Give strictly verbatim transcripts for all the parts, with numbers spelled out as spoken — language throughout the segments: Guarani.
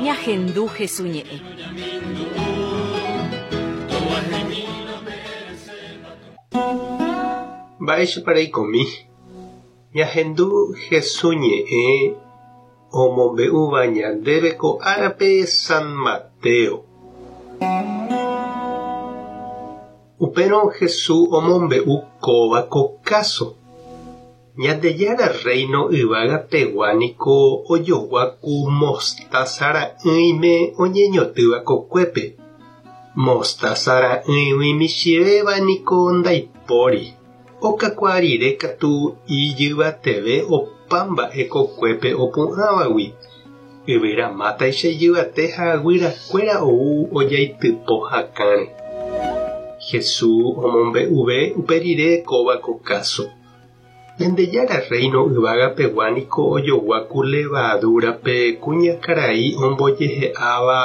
Ñahendu Hesu ñe'ẽ. Mba'éichapa reikomi. Ñahendu Hesu ñe'ẽ omombe'úva ñandéve ko árape San Mateo. Upérõ Jesús omombe'u kóva ko káso. Ñandejára Reino yvágapegua niko ojogua ku mostaza ra'ỹime oñeñotỹva kokuépe. Mostaza ra'ỹigui michĩvéva niko ndaipóri. Okakuaa rire katu ijyvateve opa mba'e kokuépe opu'ãvagui. Yvyramátaicha ijyvate ha guyrakuéra ou ojaitypo hakãre. Jesús omombe'uve upe rire kóva ko káso. Ñandejára Reino yvágapegua niko ojogua ku levadúrape kuñakarai ombojehe'áva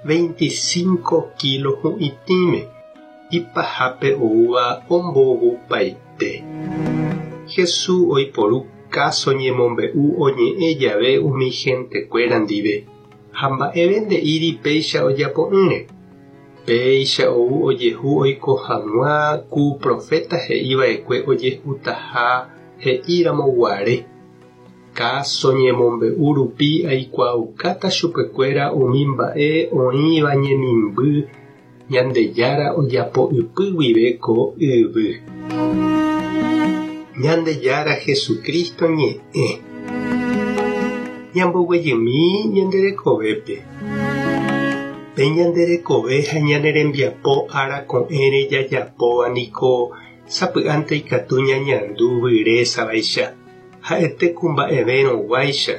veinticinco kilo hu'itĩme. Ipahápe oúva ombovupaite. Jesús oiporu káso ñemombe'u oñe'ẽ jave umi gentekuéra ndive ha mba'eve nde'íri péicha ojapo'ỹre. Péicha ou ojehu oiko hag̃ua ku profeta he'iva'ekue ojehutaha he'íramoguare. Káso ñemombe'u rupi aikuaaukáta chupekuéra umi mba'e oĩva ñemimby Ñandejára ojapo ypy guive ko yvy. Ñandejára Jesucristo ñe'ẽ. Ñamboguejymi ñanderekovépe. Pe ñanderekove ha ñanerembiapo ára ko'ẽre jajapóva niko sapy'ánte ikatu ñañandu vyrésavaicha ha'ete ku mba'evérõguáicha.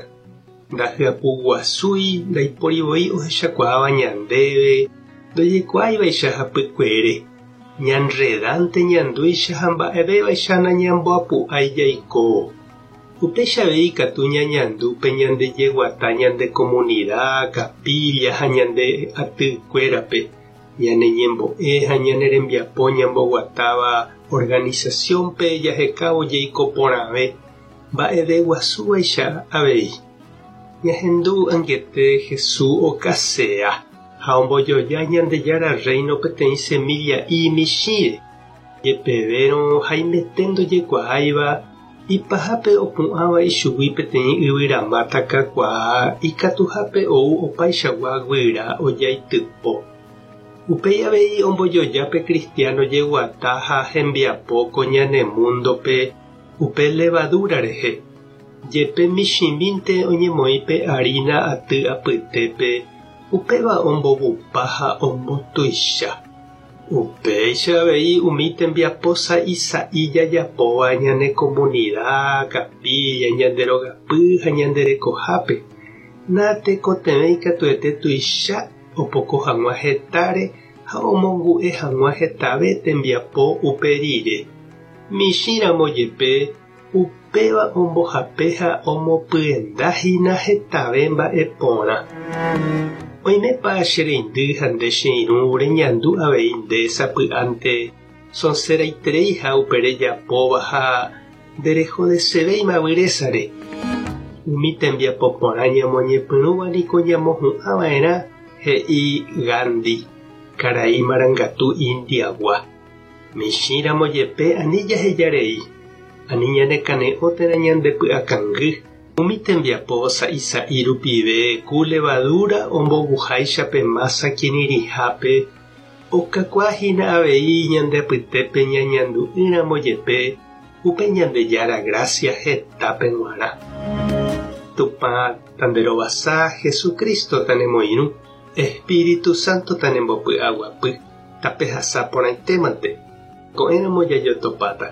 Ndahyapuguasúi ndaiporivoi ohechakuaáva ñandéve ndojekuaáivaicha hapykuere. Ñanredánte ñandúicha ha mba'evévaicha nañamboapu'ái jaiko. Upéicha avei ikatu ñañandu pe ñandejeguata ñande comunidad, capilla ha ñande atykuérape. Ñaneñembo'e ha ñanerembiapo ñamboguatáva organizaciónpe jahekávo jaiko porãve mba'eveguasúvaicha avei. Ñahendu angete Jesús okasea ha ombojoja Ñandejára Reino peteĩ semilla imichĩre. Jepevérõ haimete ndojekuaáiva ipahápe opu'ãva ichugui peteĩ yvyramáta kakuaa ikatuhápe ou opaichagua guyra ojaitypo. Upéi avei ombojoja pe cristiano jeguata ha hembiapo ko ñane múndope upe levadura rehe. Jepe michĩmínte oñemoĩ pe harina aty apytépe upéva ombovupa ha ombotuicha. Upéicha avei umi tembiapo sa'isa'i jajapóva ñane comunidad, capilla, ñande rogapy ha ñande rekohápe. Natekotevẽi katuete tuicha opoko hag̃ua hetáre ha omongu'e hag̃ua hetave tembiapo upe rire. Michĩramo jepe upéva ombohape ha omopyendahína hetave mba'e porã. Oimépa che reindy ha nde che irũ reñandu avei nde sapy'ánte sonseraitereiha upe rejapóva ha nderehodesevéima vyrésare. Umi tembiapo porã ñamoñepyrũva niko ñamohu'ãva'erã he'i Gandhi, karai marangatu Indiagua. Michĩramo jepe ani jahejarei, ani ñanekane'õ térã ñandepy'akangy. Umi tembiapo sa'isa'i rupive ku levadura ombovuháicha pe masa kirirĩhápe okakuaahína avei ñande apytépe ñañandu'ỹramo jepe upe Ñandejára gracia hetápe g̃uarã. Tupã tanderovasa Jesucristo tanemoirũ, Espíritu Santo tanembopy'aguapy, tapehasa porãitémante. Ko'ẽramo jajotopáta.